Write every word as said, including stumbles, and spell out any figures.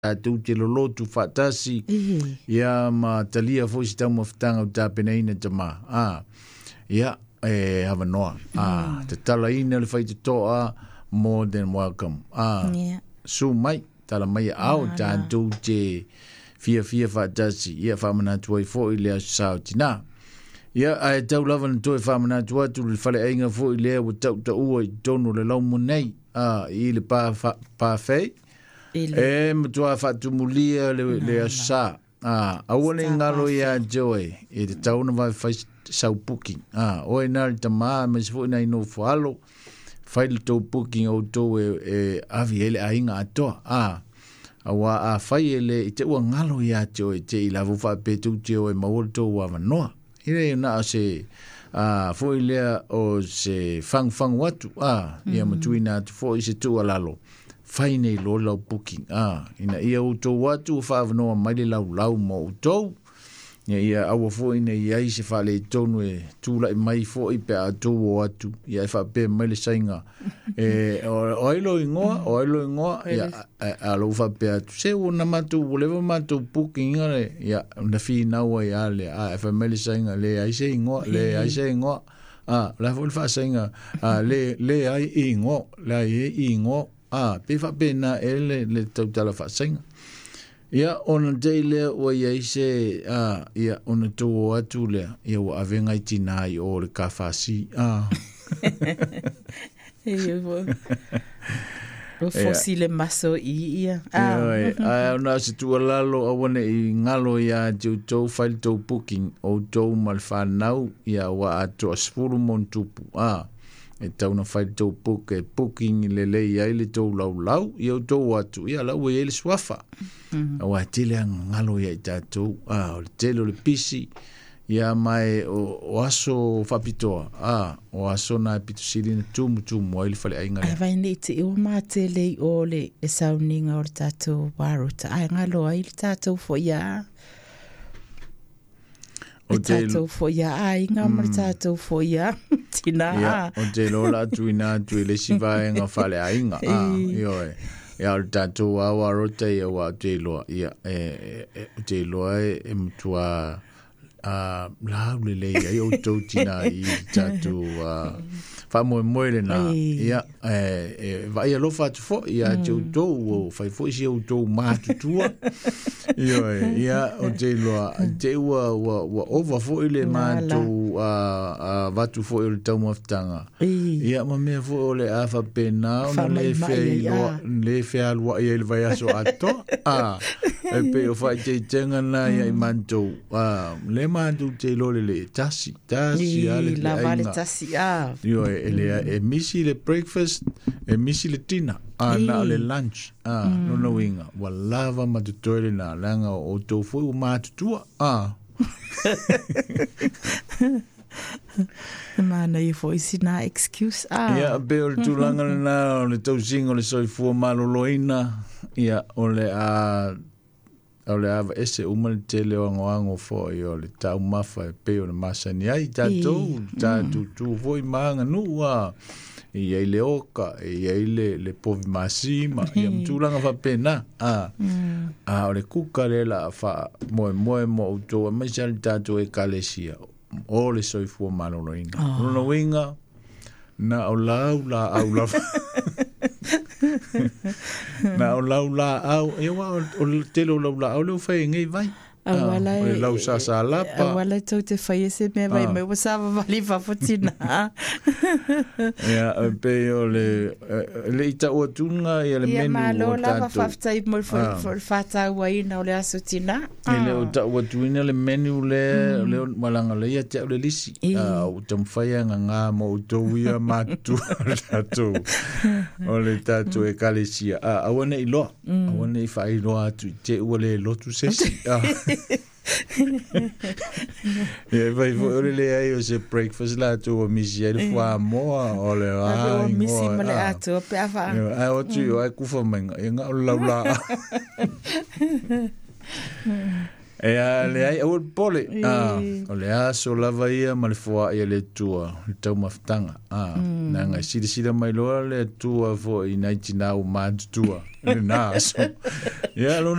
Tatou te lolotu faatasi Ī. Ia ma talia foi se taumafataga o tapenaina tamā a ia e avanoa a tatalaina le faitotoa, more than welcome a Yeah. su mai tala mai ao tatou te fiafia faatasi ia faamanatu ai foʻi le aso sa o tinā ia ae tau lava na toe faamanatu atu le faleaiga foʻi lea ua tautaua i totonu o le laumo nei a i le pa pafei I le e matuā faatumulia le, le aso sa a aua le galo iā te oe e tatau ona vaefai sau booking a oe na le tamā ma se foʻi nai nofo alo fai le tou booking outou e, e avi ai le aiga atoa a auā afai e le i te ua galo iā te oe te i lava faapea tou te o e maua le tou avanoa e le na o se a foʻi lea o se fagufagu atu a ia matuina atu foʻi se tuualalo fai nei loa lau booking a ina ia outou atu ua faaavanoa mai le laulau ma outou ia ia aua foʻi nei ai se faaletonu e tulaʻi mai foʻi pe a tou o atu ia e faapea mai le saiga e o o ai lo igoa o ai lo igoa ia a, a lou faapea atu se ua na matou ua leva matou booking iga le ia na finau ai a le a e fai mai le saiga le ai se igoa le ai se igoa a la foʻi le faasaiga a le le ai igoa le ai e igoa a pe faapena e le le tautala faasaiga ia ona tei lea ua iai se a ia ona tou o atu lea ia ua avega i tinā i o le kafasi a E ua ua fosi le maso i ia. Ah. Ioe, ae ona o se tuualalo aua neʻi galo iā te outou fai le tou booking outou ma le fanau ia ua atoa sefulu ma ona tupu a e tau na fai le tou book e booking lelei ai le tou laulau ia outou atu ia la ua iai le suafa auā tele agagalo ia i tatou a o le tele o le pisi ia mae o, o aso faapitoa a o aso na e pito sili na tumutumu ai le faleaiga Ai lea. vai nei te o mātele i o le le sauniga o le tātou warota. Ai ngalo ai le tātou fo ia. O Le te tātou fo ia ai ngā ma le tātou fo ia. Tina. Ia, o te lola atu ina atu i le isi vaega faleaiga. A, ioe. Ia, o le tatou awa rota ia ua o te iloa. Ia, e, e, e, o te iloa e, e matua a lau lelei ai outou tinā i le tatou uh, faamoemoe lenā. Ei. Ia, e, e vaai alofa atu foʻi ia te outou ua fai foʻi si outou matutua. Ioe, ia, o te iloa, te ua, ua, ua ova foʻi le Nala. matou uh, uh, vatu foʻi o le taumafataga. I. Ia ma mea foʻi o le a faapena ona le Faamaimai ai, feailoa a. le fealuaʻi ai le vaiaso atoa a e pei o faaiteitega na ia i matou a le matou te iloa le le tasi tasi a le I lava le aiga. tasi a. Ioe, e le e misi le breakfast, e misi le dinner, a na o le lunch, a lona uiga, ua lava ma totoe lenā, leaga o outou foi ua matutua, a. Mana i fo i sina excuse a. Ia, pe o le tulaga lenā o le tausiga o le soifua malōlōina, ia, o le a, o le ava ese uma le tele o agoago foʻi o le taumafa e pei o le masani ai tatou, tatou tu foi ma aganuu a, e iai le oka, e iai le, le povi masima, ia ma tulaga faapena, a. A o le kuka lea la a faamoemoe mo outou aemaise a le tatou ekalesia, o le soifua malōlōina. Oh. Lona uiga, na o lau laau lava. Na o lau laau, e ua o, o le tele o lau laau lea ua fai e nei vai. A wala o le lau sasalapa. A wala tau te whai e se mea vai Ah. mai ua sa vavali fafotina. Ia, e pei o le, e, le i tau atuga ia le Ia menu malo o lava tatou. whaftai mo le Ah. whātau aina o le aso tina. E le o tau atuina le menu le, le malaga le ia te au le lisi. I. Ah, o taumafai agagā ma outou ia matutua o le tatou, o le tatou ekalesia. Ah, aua neʻi loa, aua neʻi faailoa atu i te ua le lotu sesi. Ah. Ia e fai foi o le leai o se breakfast latou ua misi ai le fuamoa o le A a o misi igoa, ma le ah. atua pe a wha. Ia, ae o atu i o ai kufa mai ia ngā o le laulaa. Ia leai, aua le popole. Ah, o le aso lava ia ma le foaʻi a le Atua le taumafataga. Ah, leaga e silasila mai loa le Atua foi i nai tinā ua matutua i lenā aso. Ia lona.